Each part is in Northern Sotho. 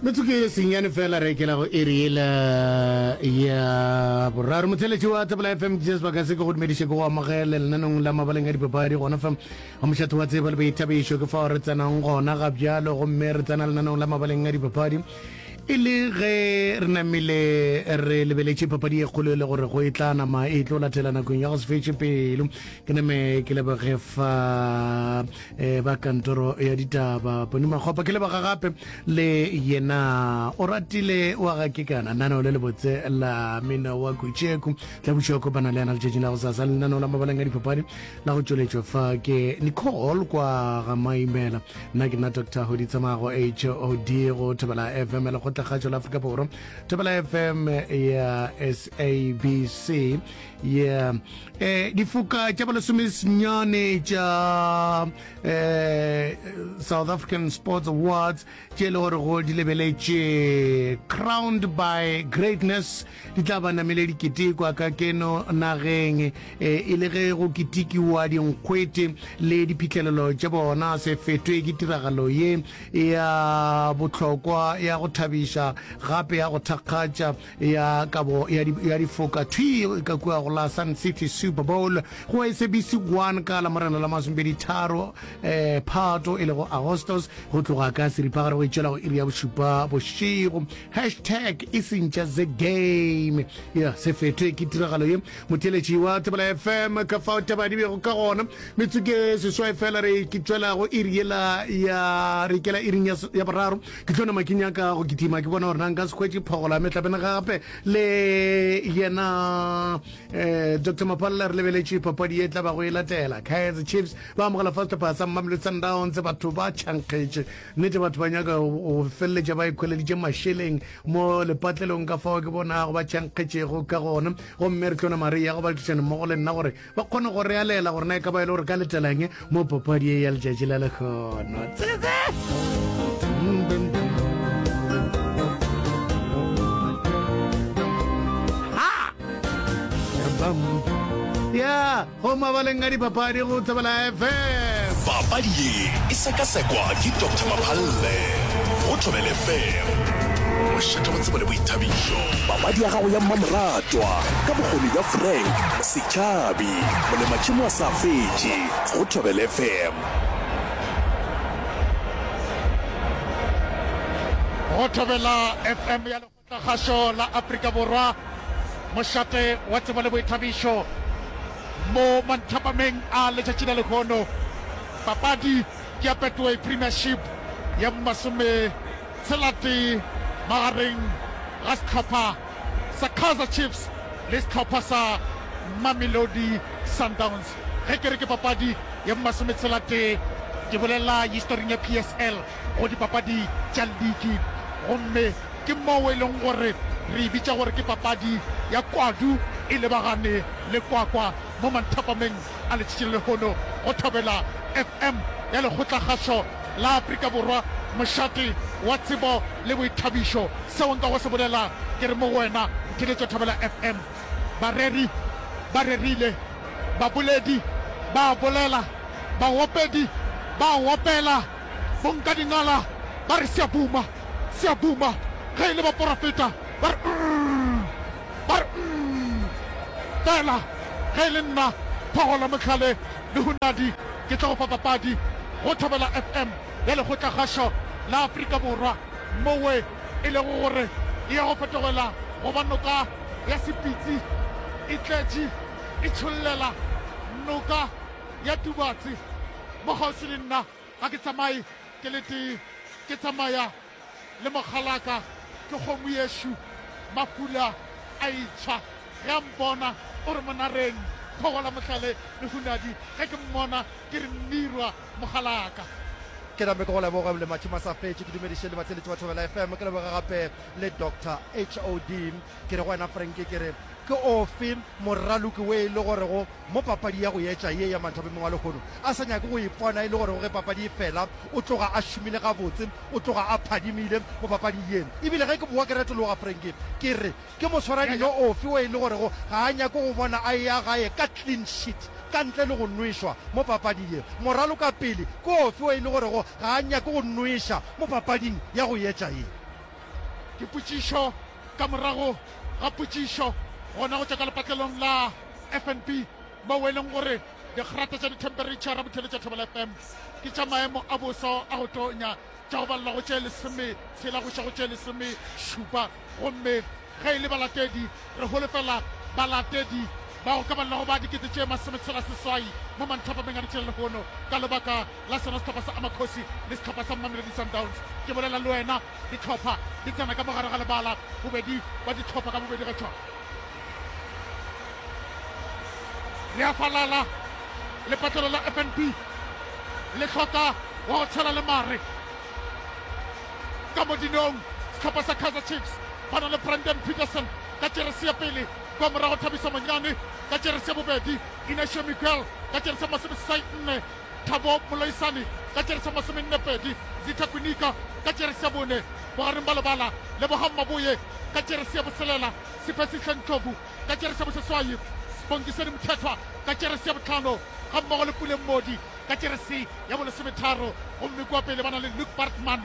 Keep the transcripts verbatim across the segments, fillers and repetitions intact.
Metsotso e senyane fela re ekela go iri yela ya boraro. Motheletši wa Thobela F M, ke sebaka se ke go dumediše ke go amogele lenanong la mabaleng a dipapadi gona fa ga mošate wa tsebo le boithabišo. Ke fao re tsenang gona ga bjalo, gomme re tsena lenanong la mabaleng a dipapadi e le ge re namile re lebeletše papadi e kgolo e le gore go e tla nama e tlo latela nakong ya go se fetše pelo. Ke name ke leboge fa eh, ba kantoro ya ditaba Poni Makgopa, ke leboga gape le yena o ratile wa ga kekana nano le lebotse la mina wa Kutšeku tla buša kopana le yena letšatšing la go sasa. Lenaneo la mabaleng a dipapadi la go tšweletšwa fa ke Nicole kwa ga Maimela. Nna ke nna Doctor Hoditsamago H O D go Thobela F M lekgotlakgatšo la Afrika Borwa, Thobela F M ya S A B C. Yeah. Eh, difoka tša bolesomesenyane tša eh, South African Sports Awards tše e le gore go di lebeletše Crowned by Greatness di tla ba namele diketekwa ka keno nageng, eh, e le ge go ketekiwa dinkgwete le diphihlelelo tša bona. Se fetwe ke tiragalo ye ya bohlokwa ya go thabiša gape ya go thakgatša ya kabo ya di, ya difoka thwi ka kua go la Sun City Super Bowl go S A B C one ka la Morena la masomepedi tharo eh, Phato e lego Agostos go tloga ka seripagare go itšwela go iri ya bošupa bošego. Hashtag e sentša the game. Ya se fetwe ke tiragalo ye. Motheletši wa Thobela F M ka fao taba di bego ka gona. Metsotso ke seswai fela re ke tšwela go iri yela ya re ikela iring ya, ya boraro. Ke tlo nama ke nyaka go kitima ke bona gore na nka se hwetše phogola mehlapena gape le yena eh, Doctor Mapalla. Re lebeletše papadi ye tla ba go e latela. Kaizer Chiefs ba amogela fa sehlopha sa Mamelodi Sundowns. Batho ba tšhankgetše nnete, batho ba nyaka go feleletša ba ikhweleditše mašeleng mo lepatlelong ka fao ke bonago ba tšhankgetšego ka gona. Gomme re tlo nama re ya go badišana mmogo le nna gore ba kgone go re alela gore na e ka ba e le gore ka letelang mo papadi ye ya letšatši la lekgono. Tsetse! Ya, go mabaleng a dipapadi go Thobela F M. Papadi ye e sekasekwa ke Doctor Maphalle go Thobela F M. Mošate wa tsebo le boithabišo. Papadi ya gago ya mmamoratwa ka bokgoni bja Frank Setšhabi, molematšhemo a sa fetše go Thobela F M. Go Thobela F M ya Lekgotlakgašo la Afrika Borwa, mošate wa tsebo le boithabišo mo manthapameng a letšatši la lehono. Papadi ke ya Betway Premiership ya masometshelatee magareng ga sehlopha sa Kaizer Chiefs le sehlopha sa Mamelodi Sundowns. Ge ke re ke papadi ya masometshelatee, ke bolela historing ya P S L go dipapadi tša liki, gomme ke moo e leng gore re e bitša gore ke papadi ya kwadu e lebagane le kwakwa mo manthapameng a letšatši la lehono go Thobela F M ya Lekgotlakgašo la Afrika Borwa, mošate wa tsebo le boithabišo. Seo nka go se bolela ke re mo go wena ntheletšo Thobela F M. Bareri ba rerile, baboledi ba bolela, baopedi ba opela, bonkadingala ba re siabuma, siabuma, ge e le baporofeta ba re mm, ba re mm. Fela ge e le nna Phogola Mohlale le Hunadi ke tlo go fa papadi go Thobela F M ya Lekgotlakgašo la Afrika Borwa, mowe e lego gore e ya go fetogela go ba noka ya Sepitsi e tletše e tšhollela noka ya Tubatse. Mo kgauswi le nna ga ke tsamaye ke le tee, ke tsamaya le mokgalaka, ke kgomo yešo mafula a itshwa. Ge a mpona o re monareng, Phogola Mohlale le Hunadi. Ge ke mmona ke re mmirwa mokgalaka. Ke name ke go leboge le matšhimo a sa fetše, ke dumediše le batheeletši ba Thobela F M, ke leboge gape le Doctor H O D. Ke re go wena Frank, ke re ke ofe moraloki we e le gorego mo papadi ya go etša ye ya Manthabemong wa lehono a sa nyake go ipona e le gorego ge papadi e fela o tloga a šomile gabotse, o tloga a phadimile mo papading ye. Ebile ge ke boa ke retologa Frank, ke re ke moswaradino ofe we e le gorego ga a nyake go bona a eya gae ka clean sheet ka ntle le go nwešwa mo papading ye. Moralokapele ke ofe we e le gorego ga a nyake go nweša mo papading ya go etša ye. Ke potšišo ka morago ga potšišo gona go tšwa ka lepatlelong la F N B moo e leng gore dikgrata tša dithemperetšhara botheletša Thobela F M ke tša maemo a boso a go tonya tša go balela go tše lesome tshela go iša go tše lesome šupa. Gomme ge e le balatedi, re holofela balatedi ba go ka balela go ba dikete tše masometshela seswai mo manthapameng a ditšhela lehono ka lebaka la sona sehlopha sa Amakhosi le sehlopha sa Mamelodi Sundowns. Ke bolela le wena, dihlopha di tsena ka mogare ga lebala, bobedi ba dihlopha ka bobedi ga tšona. Le a falala, lepatlelo la F N B le hloka wa go tshela le mare ka modinong. Sehlopha sa Kaizer Chiefs ba na le Brandon Petersen ka jeresi ya pele, kwa morago Thabiso Monyane ka jeresi ya bobedi, Inacio Miguel ka jeresi ya masomeseswai nne, Thabo Moloisane ka jeresi ya masomenne pedi, Zitha Kwinika ka jeresi ya bone, bogareng ba lebala Lebogang Maboye ka jeresi ya boselela, Siphesihle Ndlovu ka jeresi ya boseswai, Sibongiseni Mthethwa ka jeresi ya bohlano, gammogo le Puleng Mmodi ka jeresi ya bolesometharo. Gomme kua pele ba na le Luke Bartman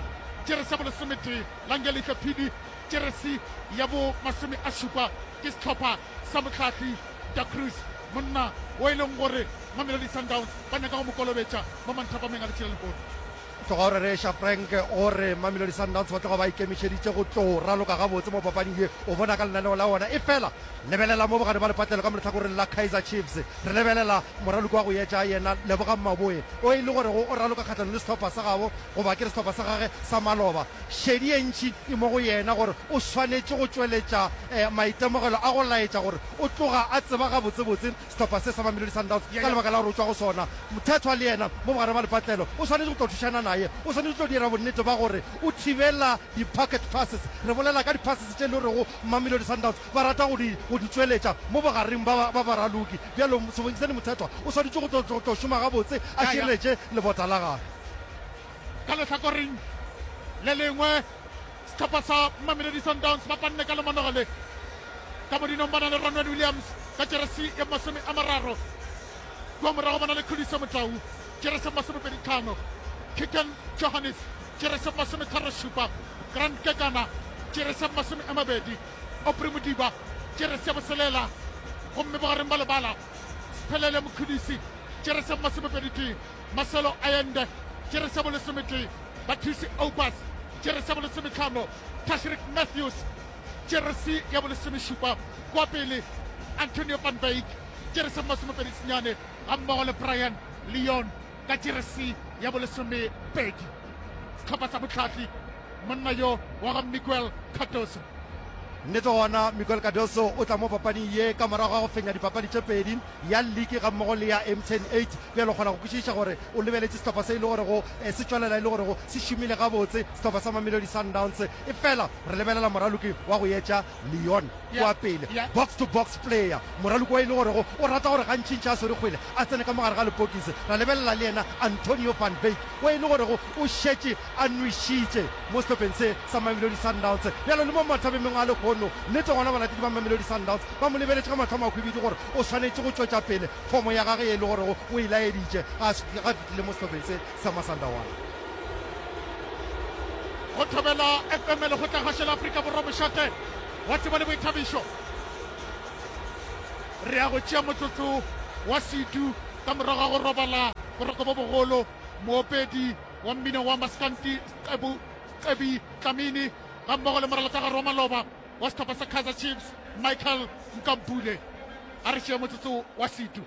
jeresi ya bolesometee, Langelihle Phidi jeresi ya bo masome a šupa. Ke sehlopha sa mohlahli Da Cruz, monna wo e leng gore Mamelodi Sundowns ba nyaka go mo kolobetša mo manthapameng a letšatši la lehono. Tloga o rereša Frank o re Mamelodi Sundowns ba tloga ba ikemišeditše go tlo raloka gabotse mo papading ye. O bona ka lenaneo la bona. Efela lebelela mo bogare ba lepatlelo ka mo lehlakoreng la Kaizer Chiefs. Re lebelela moraloki wa go etša yena Lebogang Maboe o e le gorego o raloka kgahlanong le sehlopha sa gabo goba ke re sehlopha sa gage sa maloba. Šedi ye ntši e mo go yena gore o swanetše go tšweletša maitemogelo a go laetša gore o tloga a tseba gabotsebotse sehlopha se sa Mamelodi Sundowns ka lebaka la gore o tšwa go sona. Mthethwa le yena mo bogare ba lepatlelo o swanetše go tlo thušana naye. O swanetše go tlo dira bonnete ba gore o thibela di-pocket passes. Re bolela ka di-passes tše e le gorego Mamelodi Sundowns ba rata go di, go di tšweletša mo bogareng ba, ba baraloki. Bjalo Sebongiseni Mthethwa o swanetše go tlo, tlo, tlo šoma gabotse a šireletše lebota la gagwe. Ka lehlakoreng le lengwe, sehlopha sa Mamelodi Sundowns ba panne ka lemanoga le. Ka modinong ba na le Ronwen Williams ka jeresi ya masome a mararo. Kua morago ba na le Khuliso Motau, jeresi ya masomepedi tlhano, Keagan Johannes, jeresi ya masometharo šupa, Grant Kekana, jeresi ya masome a mabedi, Aubrey Modiba, jeresi ya boselela, gomme bogareng ba lebala Sphelele Mkhudisi, jeresi ya masomepedi tee, Marcelo Allende, jeresi ya bolesometee, Bathusi Aubaas, jeresi ya bolesometlhano, Tashreeq Matthews, jeresi ya bolesomešupa, kua pele Antonio van Wyk, jeresi ya masomepedi senyane, gammogo le Brian Leon ka jeresi ya bolesomepedi. Sehlopha sa bohlahli, monna yo wa ga Miguel Cardoso. Nnete gona, Miguel Cardoso o tla mo papading ye ka morago ga go fenya dipapadi tše pedi, ya liki gammogo le ya M T N eight. Bjale o kgona go kwešiša gore o lebeletše sehlopha se e le gorego se tšwelela e le gorego se šomile gabotse, sehlopha sa Mamelodi Sundowns. Efela re lebelela moraloki wa go etša Leon kua pele, box to box player, moraloki wa e le gorego o rata gore gantšintši a swere kgwele a tsene ka mogare ga lepokisi. Ra lebelela le yena Antonio van Wyk wa e le gorego o šetše a nwešitše mo sehlopheng se sa Mamelodi Sundowns. Bjalo le mo mathabemeng a lehono, nnete gona balatedi ba Mamelodi Sundowns ba mo lebeletše ka mahlo a mahwibidu gore o swanetše go tšwetša pele fomo ya gagwe ye e le gorego o e laeditše ga a fihlile mo sehlopheng se sa Masandawana. Go Thobela F M Lekgotlakgašo la Afrika Borwa mošate wa tsebo le boithabišo. Re ya go tšea motsotso wa setu ka morago ga go robala boroko bo bogolo. Moopedi wa mmino wa Maskanti Scebu Scebi Dlamini gammogo le moralotagare wa maloba wa sehlopha sa Kaizer Chiefs Michael Nkampule. A re tšee motsotso wa setu.